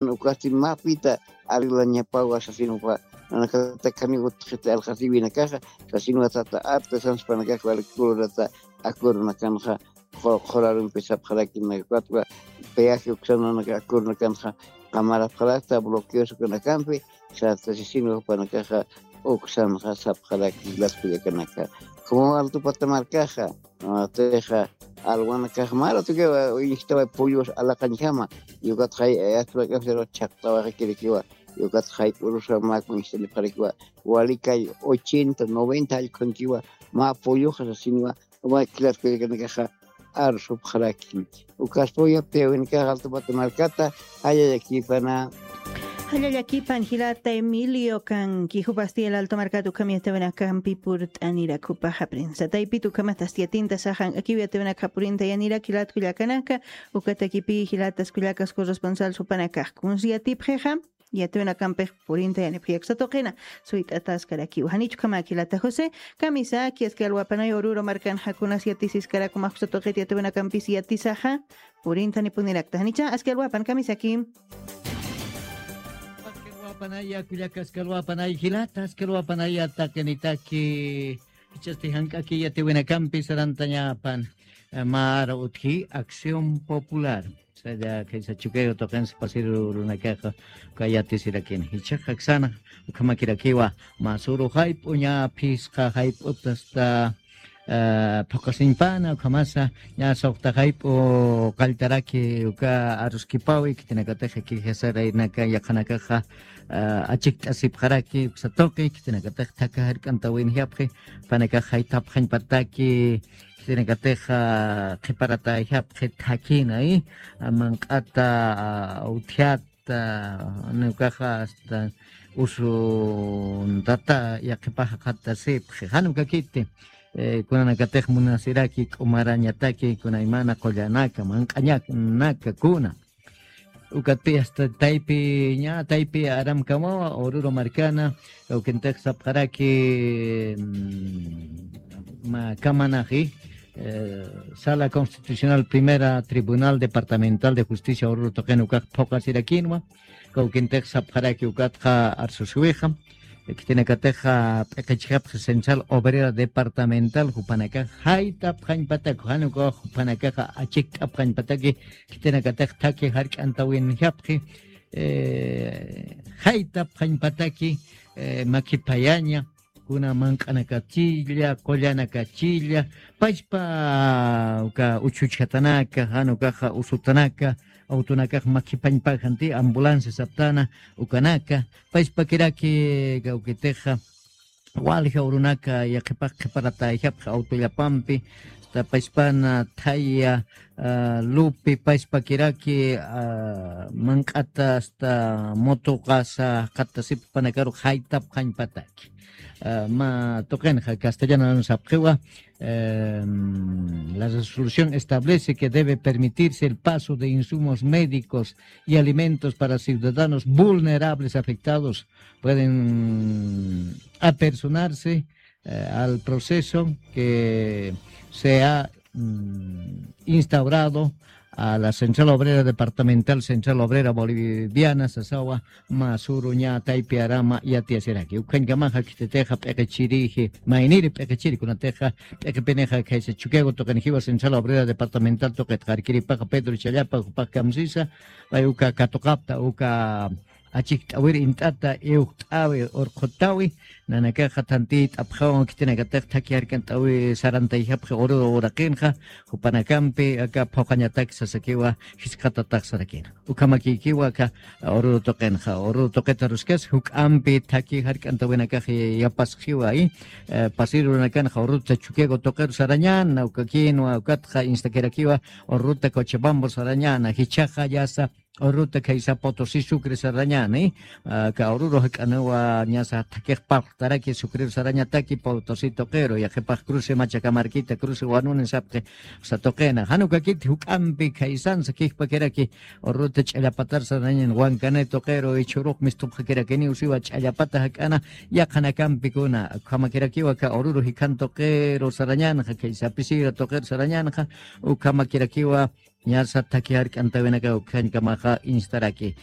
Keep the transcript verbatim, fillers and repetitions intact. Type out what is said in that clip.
ukasti mapita arreglañapawa sasinwa, nanakata kami utjita alqasiwinakaxa, sasinwa tata artesanos panakax wali colorata acuerdonakanxa, qurarumpi sapxarakinakatwa, peaje uksananaka acuerdonakanxa qamarapxarakta bloqueos ukanakampi, sata sasinwa panakaxa uksanxa sapxaraki las kullakanaka. Como Alto Pata markaxa, texa alwanakax mara tukiwa injtawa pollos alaqañjama, yukat jay ayatpakafsero chaqtawaxakirikiwa, yukat jay p'urusa mä kunjtanipxarakiwa, walikay ochenta noventa allkunkiwa mä polloxa sasinwa, mä kilarkullakanakaxa arsupxaraki. Ukaspaw yaptiyawinakax Alto Pata markata, jallallakipana. Jallallakipan jilata Emilio, kanki jupasti el Alto markata ukham yatawinakampi purt'anirak jupaxa prensa taypit ukhamatasti yatinta saxan akiw yatawinakxa purinta yanirak jilat kullakanaka. Ukatakipi jilatas kullakas corresponsal supanakax kunsi yatipxixa, yatawinakampix purinta yanipxi aksa tuqina. Suyt'ataskarakiw janichukhamak jilata José. Kamisaki aski alwapanay Oruro markanxa kunas yatisiskarak umax aksa tuqit yatawinakampis yatisaxa, purintanipunirakta janicha aski alwapan kamisaki. Aski alwapanaya kullaka aski alwapanay jilata aski alwapanaya taqinitaki. Ichasti jank'aki yatawinakampi sarantañapan, mara utji Acción Popular. Saya kaysa Chukiyawu tuqinsa pasiru runakaxa uka yatisirakini jichhaxa aksana. Ukhamakirakiwa masuru jayp'uña phisqa jayp'utasta phuqasiñpana ukhamasa ña suxta jayp'u qalltaraki uka aruskipawi khitinakatixa kijasaraynaka yaqhanakaxa achikt'asipxaraki uksa tuqi khitinakatixa thakha jark'antawinjapxi panakax jaytapxañpataki. Khitinakatixa qhiparatayjapxi thakhinay manq'ata utjata nukaxa asta usuntata yaqhipaxa qhatasipxi jan ukakiti. Kunanakatix munasiraki k'umarañataki kunaymana qullanaka manq'añanaka kuna ukatpi asta taypi ña taypi aramkamawa Oruro markana kawkintix sapxaraki kamanaxi Sala Constitucional Primera Tribunal Departamental de Justicia Oruro tuqin ukax phuqasirakinwa. Kawkintix sapxaraki ukatxa arsusuwixa khitinakatixa p'iqichjapxi Central Obrera Departamental jupanakax jaytapxañpatak jan ukax jupanakaxa achikt'apxañpataki khitinakatix thakhi jark'antawinjapxi jaytapxañpataki makiphayaña kuna manq'anakachilla qullanakachilla pachpa uka uchuchjatanaka jan ukaxa usutanaka awtunakax makhipañpajanti ambulancia saptana ukanaka pachpakiraki kawkitixa walja urunaka yaqhipax qhiparatayjapxi awtullapampi asta pachpana thaya lupi pachpakiraki manq'ata asta mutuqasa jaqatasipxpanakaru jaytapxañpataki. Ma tuqinxa castellano sapxiwa la resolución establece que debe permitirse el paso de insumos médicos y alimentos para ciudadanos vulnerables afectados pueden apersonarse al proceso que se ha instaurado a la Central Obrera Departamental, Central Obrera Boliviana sasawa masuru ña taypi arama yatiyasiraki ukhañkamaxa khititixa p'iqichiriji mayniri p'iqichiri kunatixa p'iqipinixa khaysa Chukiyawu tuqinjiwa Central Obrera Departamental tuqitxa arkiripaxa Pedro Challapa jupax kamsisa pay uka katuqapta uka achikt'awir int'ata iwjt'awi urqhutawi nanakaxa thantiyt'apxawan khitinakatix thakhi jark'ant'awi sarantayjapxi Oruro uraqinxa jupanakampi aka phuqañatak sasakiwa jisk'atatax sarakina ukhamakiykiwa aka Oruro tuqinxa Oruro tuqita aruskas juk'ampi thakhi jark'ant'awinakax yapasxiwa pasirunakanxa Orurota Chukiyawu tuqiru sarañana ukakinwa ukatxa instakirakiwa Orurota Cochabambu sarañana jichhaxa yasa Orurota khaysa Potosí Sucre sarañani ka Oruro jak'aniwa ñasa thakix parltaraki Sucreru sarañataki Potosí tuqiru yaqhipax cruce Machakamarkita cruce Wanuni sapxi uksa tuqina jan ukakiti juk'ampi khaysansa kijpakiraki Orurota Ch'allapatar sarañan Wankani tuqiru ichhurux mistupxakirakiniw siwa Ch'allapata jak'ana yaqhanakampi kuna ukhamakirakiwa ka Oruro jikhan tuqiru sarañanxa khaysa Pisira tuqiru sarañanxa ukhamakirakiwa Ñasa thakhi jark'antawinaka ukhañkamaxa instaraki.